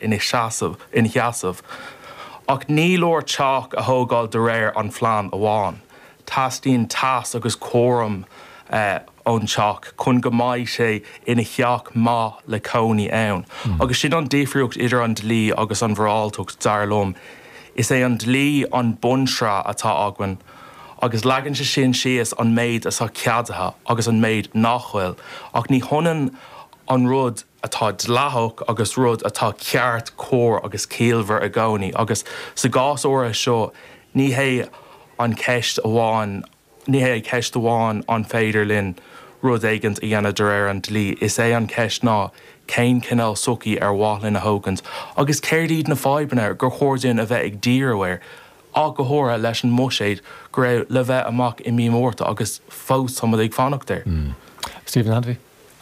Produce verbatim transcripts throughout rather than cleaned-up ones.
ina seasamh ina sheasamh. Ach ní leor teach a thógáil de réir an phlean amháin. Teastaíonn teas agus cúram uh, ón teach chun go mbeidh sé ina theach maith le cónaí ann. Mm. Agus sin an difríocht idir an dlí agus an mhoráltacht dar liom. Is é an dlí an bunsraith atá againn, agus leagann sé sin síos an méid atá ceadaithe agus an méid nach bhfuil, ach ní hionann an rud atá dleathach agus rud atá ceart cóir agus ciallmhar i gcónaí, agus sa gcás áirithe seo ní hé an ceist amháin ní hé ceist amháin an féidir linn rud éigin a dhéanamh de réir an dlí, is é an ceist ná cén cineál sochaí ar mhaith linn a thógaint, agus céard iad na fadhbanna gur chóir dúinn a bheith ag díriú air, ach go háirithe leis an mbuiséad go raibh le bheith amach i mí Márta agus fós táimid ag fanacht air. Mm. Stephen Hanvey?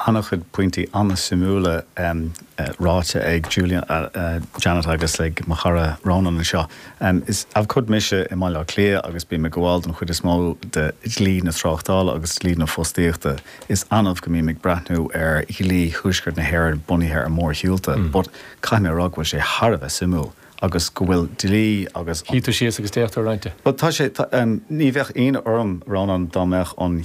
An-chuid pointí an-suimiúla um, uh, ráite ag Julian uh, uh, Janet agus ag mo chara Ronan anseo. Um, is abhcóide mise i mBaile Átha Cliath agus bím ag gabháil don chuid is mó de dhlí na tráchtála agus dlí na fostaíochta. Is annamh go mbím ag breathnú ar dhlí Thuaisceart na hÉireann bunaithe ar mórshiúlta, mm. but caithfidh mé rá go bhfuil sé thar a bheith suimiúil agus go bhfuil dlí agus Hí tú síos agus déachtar roinnte. But tá sé um, ní bheadh ionadh orm Ronan dá mbeadh an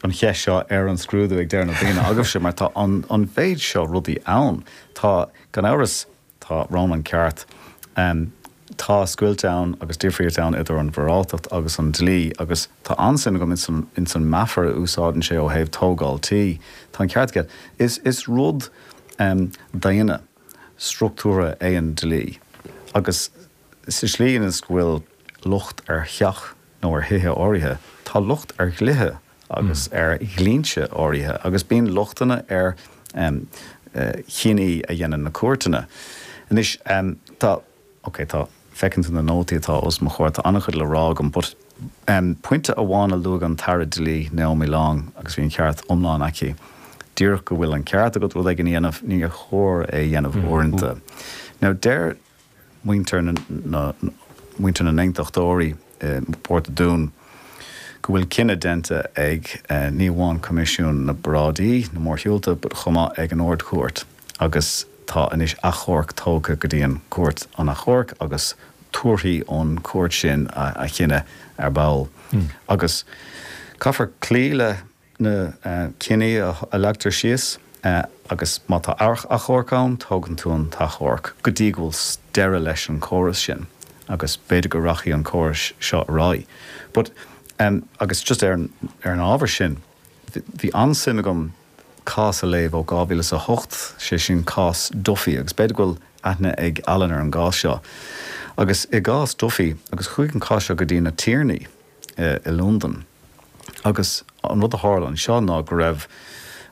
an cheist seo ar an scrúdú ag deireadh na bliana agaibhse mar tá an, an mhéid seo rudaí ann Tá gan amhras tá Ronan ceart um, tá scoilt ann agus difríocht ann idir an mhoráltacht agus an dlí agus tá an-suim agam in in san meafar a úsáideann sé ó thaobh tógáil tí Tá an ceart aige is is rud um, daonna struchtúrtha é an dlí agus sa slí is go bhfuil locht ar theach nó ar thithe áirithe, tá locht ar dhlíthe agus mm. ar dhlínse áirithe, agus bíonn lochtanna ar um, uh, chinntí a dhéanann na cúirteanna. Anois um, tá okay, tá feiceann tú na nótaí atá os mo chomhair tá an-chuid le rá agam, but um, pointe amháin a luaigh an tAire Dlí Naomi Long agus bhí an ceart iomlán aici. Díreach go bhfuil an ceart agat rud éigin a dhéanamh níor chóir é dhéanamh mm. uaireanta. Now deir muintir na muintir na n-aontachtóirí Port Dún go bhfuil cinneadh déanta ag eh, ní amháin Coimisiún na bParáidí na Mórshiúlta, but chomh maith ag an Ard-Chúirt agus tá anois achomharc tógtha go dtí an Cúirt an achomhairc agus tabharfaidh an chúirt sin a, a chinneadh ar ball. Mm. Agus caithfear cloí le na uh, cinntí a, a leagtar síos uh, agus má tá achomharc ann tógann tú an t-achomharc go dtí go bhfuil deireadh leis an córas sin agus b'fhéidir go rachaidh an córas seo ar aghaidh. But um, agus just ar an, ar an ábhar sin, bhí an-suim agam cás a léamh ó dhá mhíle a hocht sé sin cás Duffy agus b'fhéidir go bhfuil aithne ag Alan ar an gcás seo. Agus i gcás Duffy agus chuaigh an cás seo go dtí na tiarnaí uh, i Londain. Agus an rud a tharla anseo ná go raibh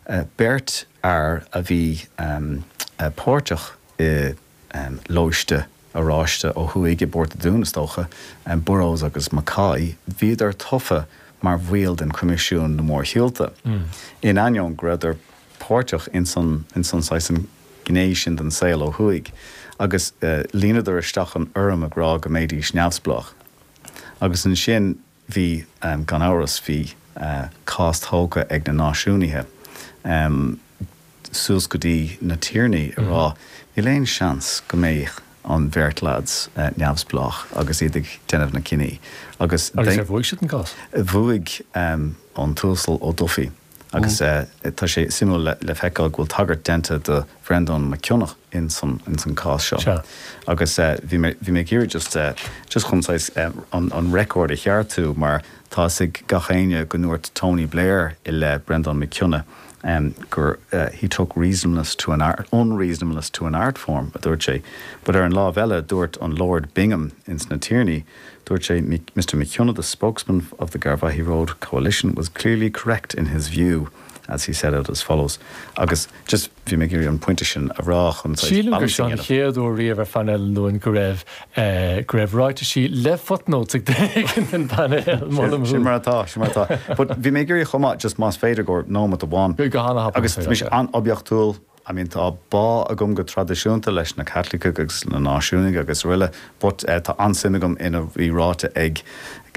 uh, beirt fhear a bhí um, uh, páirteach i um, lóiste Oráiste ó thuaidh i bPort Dún is dócha um, Burrows agus Mackay, bhíodar tofa mar bhaill den Coimisiún na Mórshiúlta. Mm. In ainneoin go rabhadar páirteach in san in san an gné sin den saol ó thuaidh, agus uh, líonadar isteach an fhoirm ag rá go mbeidís neamhspleách. Agus ansin bhí um, gan amhras bhí uh, cás tógtha ag na náisiúnaithe. Um, suas go dtí na tiarnaí a rá, níl aon seans go mbeidh an bheirt lads uh, neamhspleách agus iad ag déanamh na cinntí. Agus agus ar bhuaigh siad an cás? Bhuaigh um, an tUasal Ó Dufaigh agus mm. uh, tá sé suimiúil le, le feiceáil go bhfuil tagairt déanta do Bhreandán Mac Cionnaith in san in san cás seo. Agus uh, bhí mé ag just uh, just chun uh, an, an record a cheartú mar tá ag gach éinne go ndúirt Tony Blair i le Breandán Mac Cionnaith um, gur uh, he took reasonableness to an art unreasonableness to an art form a dúirt sé. But ar an lámh eile dúirt an Lord Bingham ins na Tiarnaí, dúirt sé Mr McKenna, the spokesman of the Garvaghy Road Coalition, was clearly correct in his view as he said it as follows. Agus just bhí mé an pointe sin a rá chun Sílim gur seo an chéad uair riamh ar phainéal an Luain go raibh go raibh ráitisí le footnotes ag den painéal Sin mar atá sin mar atá. But bhí mé ag chomá just más féidir gur nóiméad amháin. Go Agus mis an-oibiachtúil I mean tá bá agam go traidisiúnta leis na Caitlicigh agus na náisiúnaigh agus araile, but uh, tá an-suim agam ina bhí ráite ag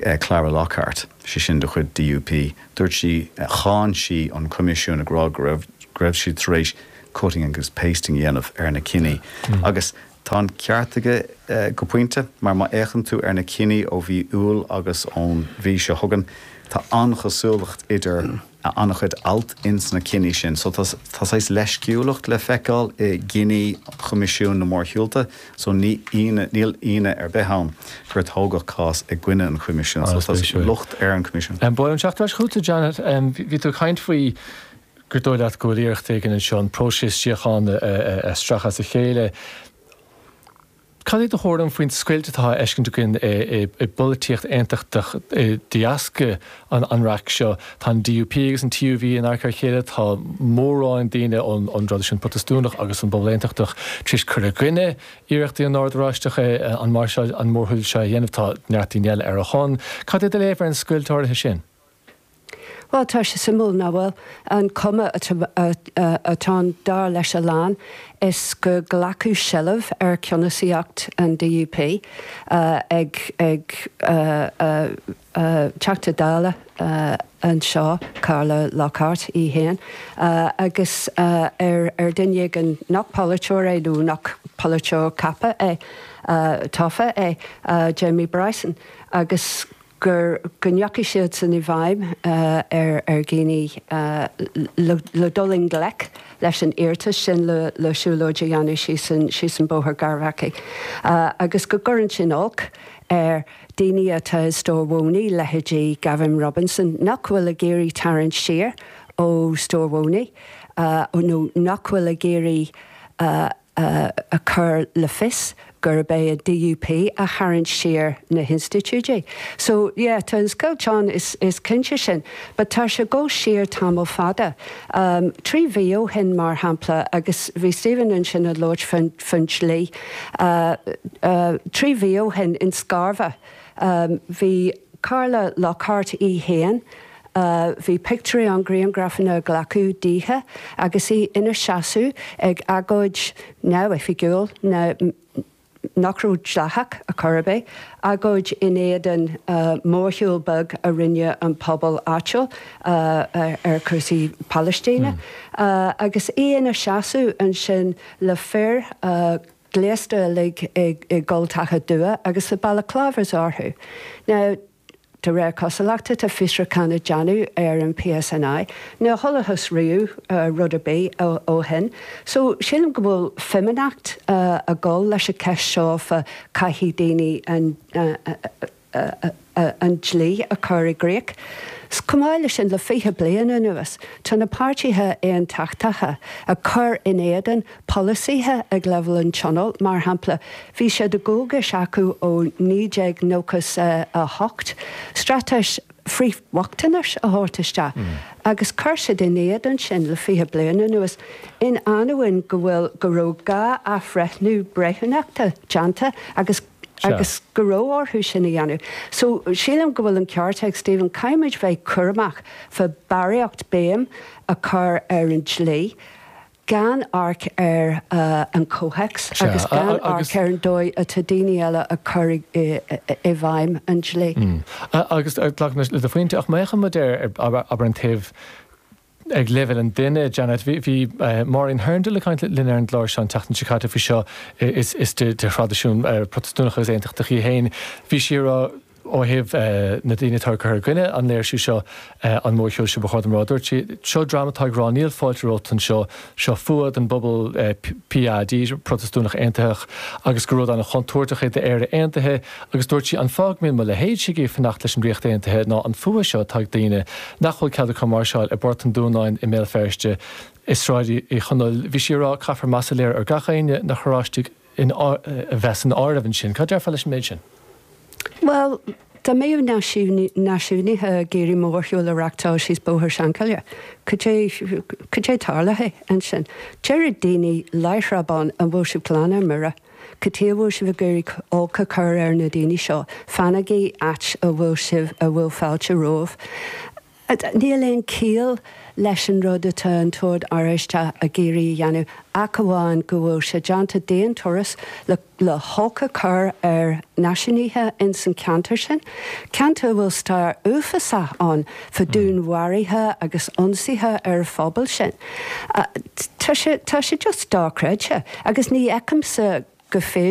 uh, Clara Lockhart sé sin de chuid DUP. Dúirt sí uh, cháin sí an Coimisiún ag rá go raibh siad tar éis cutting agus pasting dhéanamh ar na cinntí. Mm. Agus Tá an ceart aige go pointe, mar má fhéachann tú ar na cinní ó mhí Iúil agus ón mhí seo chugainn, tá an-chosúlacht idir an-chuid alt ins na cinní sin. So tá saghas leisciúlacht le feiceáil i gcinní Choimisiún na Mórshiúlta, so ní níl ionadh ar bith ann gur tógadh cás i gcoinne an Choimisiúin. So tá locht ar an Choimisiún. Ba mhaith liom teacht ar ais chugat, Janet, bhí tú ag caint faoi gur dóigh leat go bhfuil iarracht éigin anseo an próiseas síochána a stracadh as a chéile. Cad é do thuairim faoin scoilt atá á fheiscint againn i bpolaitíocht aontachtach de dheasca an raic seo? Tá an D U P agus an T U V in adharca a chéile, tá mórán daoine ón dtraidisiún Protastúnach agus an bpobal aontachtach tar éis cur i gcoinne iarrachtaí an Ord Oráisteach an máirseáil, an mórshiúl seo a dhéanamh, tá neart daoine eile ar a shon. Cad é do léamh ar an scoilt áirithe sin? Bhuel, tá sé suimiúil, nach bhfuil? An cuma atá ann, dar leis a lán, is gur glacadh seilbh ar cheannasaíocht an D U P ag ag Teachta Dála anseo, Carla Lockhart í féin, agus ar ar duine éigin nach polaiteoir é nó nach polaiteoir ceaptha é, tofa é, Jamie Bryson, agus gur go ndeachaigh siad san i bhfeidhm ar ar dhaoine le le dul i ngleic leis an iarratas sin le le siúlóid a dhéanamh síos an síos an Bóthar Gharbhachaidh agus go gcuireann sin olc ar daoine atá i Stór Mhónaí, leithéidí Gavin Robinson, nach bhfuil ag iarraidh tarraingt siar ó Stór Mhónaí nó nach bhfuil ag iarraidh a chur le fios gurb é an D U P a tharraing siar na hinstitiúidí. So yeah, tá an scoilt ann is, is cinnte sin, but tá sé ag dul siar tamall fada. Um, trí mhí ó shin mar shampla agus bhí Stephen ansin ag labhairt faoin, faoin dlí. Uh, uh, trí mhí ó shin in Scarva, um, bhí Carla Lockhart í féin, Uh, bhí pictiúirí an grianghrafanna glacadh dithe agus í ina seasamh ag agóid neamhoifigiúil na nach raibh dleathach ar chor ar bith, agóid in éadan uh, mórshiúl beag a rinne an pobal áitiúil uh, ar, ar chúrsaí Palaistíne. Mm. Uh, agus í ina seasamh ansin le fir uh, gléasta uilig i, i gcultacha dubha agus na balaclavas orthu. Now, de réir cosúlachta tá fiosrúchán á dhéanamh ar an P S N I. Níor chualathas riamh uh, rud ar bith ó, ó shin. So sílim go bhfuil fimíneacht uh, ag gabháil leis an cheist seo fa caithfidh daoine an, uh, uh, uh, uh, an dlí a chur i gcrích. Chomh maith leis sin le fiche bliain anuas, tá na páirtithe aontachtacha ag cur in éadan polasaithe ag leibhéal an tionóil, mar shampla, bhí sé de dhualgas acu ó naoi déag nócha a hocht, straitéis frithbhochtanais a thabhairt isteach. Mm. Agus chuir siad in éadan sin le fiche bliain anuas in ainneoin go bhfuil go raibh dhá athbhreithniú breithiúnachta déanta agus agus go raibh orthu sin a dhéanamh. So sílim go bhfuil an ceart ag Stephen, caithfimid bheith cúramach fa barraíocht béim a chur ar an dlí, gan amharc ar uh, an comhthéacs agus gan amharc ar an dóigh atá daoine eile a chur i bhfeidhm an dlí. Mm. Agus le do phointe ach má fhéachann muid ar abair an taobh ag leibhéal an duine, Janet, bhí Maureen Hurndall ag caint linn ar an gclár seo an tseachtain seo caite faoi seo is is de de thraidisiún Protastúnach agus aontachtach í féin. Bhí sí ag rá ó thaobh na daoine atá ag cur i gcoinne an léirsiú seo an mórshiúl seo ba chóir dom rá. Dúirt sí seo dream atá ag rá níl fáilte romhat anseo seo fuath don bpobal P A D Protastúnach Aontaitheach agus gur rud an-chontúirteach é d'Éire Aontaithe agus dúirt sí an fáth go mbíonn mo leithéidse ag fanacht leis an Ríocht Aontaithe ná an fuath seo atá ag daoine nach bhfuil cead acu máirseáil i bPort an Dúnáin i mBéal Feirste i Sráid Uí Chonaill. Bhí sí ag rá caithfear meas a léiriú ar gach éinne na hOráistigh a bheith san áireamh ansin. Cad déarfá leis an méid sin? Well, dá mbeadh náisiúnaithe ag iarraidh mórshiúl a reáchtáil síos Bóthar Seanchoille. Cad é tarlaithe ansin. Deir daoine láithreach bonn an bhfuil sibh glan ar mire. Cad chuige a bhfuil sibh ag iarraidh olc a chur ar na daoine seo, fanaigí áit a bhfuil sibh a bhfuil fáilte romhaibh. Níl aon chiall leis an rud atá an tOrd Oráisteach ag iarraidh a dhéanamh ach amháin go bhfuil sé déanta d'aon turas le le holc a chur ar náisiúnaithe in san ceantar sin. Ceantar a bhfuil stair uafásach ann fa dúnmharuithe agus ionsaithe ar an phobal sin. Tá sé tá sé just dochreidte agus ní fheicimse go féidir